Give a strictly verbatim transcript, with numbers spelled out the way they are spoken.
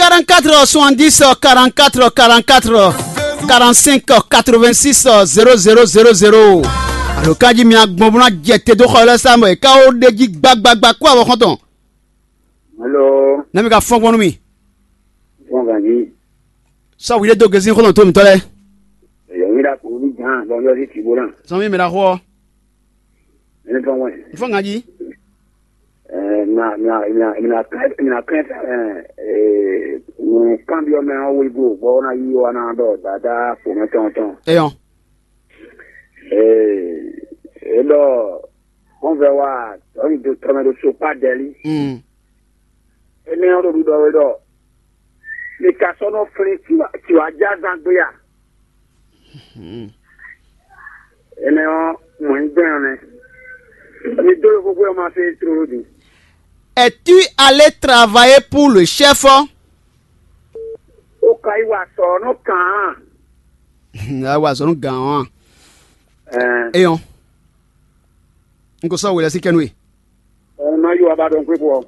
Quarante-quatre soixante-dix quarante-quatre quarante-quatre quarante-cinq quatre-vingt-six zéro zéro zéro zéro. Alo kanjí mi agbɔn bó ná jɛ te dó xɔ lɛ́ sá mɔ è ká ó ɖe jí gbagbagba kó avɔ xɔntɔn. Alo. Nɛ́ mi ka fɔ́n gbɔn nú mi? Fɔ́n ganjí. Sɔ́ wi ɖé dó gezín xɔlɔn tó mǐtɔn lɛ́ɛ. Èyí mi ɖa kó ní gán lɔ yɔ sí tìbó náà. Sɔmi mi ɖa xɔ. Ní fɔ́n wɛ. Fɔ́n ganjí. Ɛ, mina mina mina mina kɛn mina kɛn ɛ, ɛ, nǔkanbyɔ́ mɛ ɔ́ wégo bɔ ɔ́ ná yí wa ná ɖɔ dada fǒmɛ tɔn tɔn. Eyɔn. Ee, e ɖɔ kɔnvɛ wa tɔni do tɔmɛ ɖo sokpa dɛli. Mm. Énɛ́ ɔ́ ɖo ɖiɖɔ wɛ ɖɔ mi ka sɔ́ nɔ flín tiwa tiwa jázán gbé a? Mm. Énɛ́ ɔ́ mɔ̌ nyí gbɛn ɔ́ nɛ́. Mi dó ɖo xóxó ɔ́ ma fé tlóló din. Es-tu allé travailler pour le chef? Ó ka yi wa sɔ nɔ kàn án. Awa zɔn nú gǎn ɔ́ a? Ɛɛ. Eyɔn. N ko sɔ́ wělɛ́ sí kɛ́nú e. Ɔn, má yí wa ba ɖɔn xwé fɔ.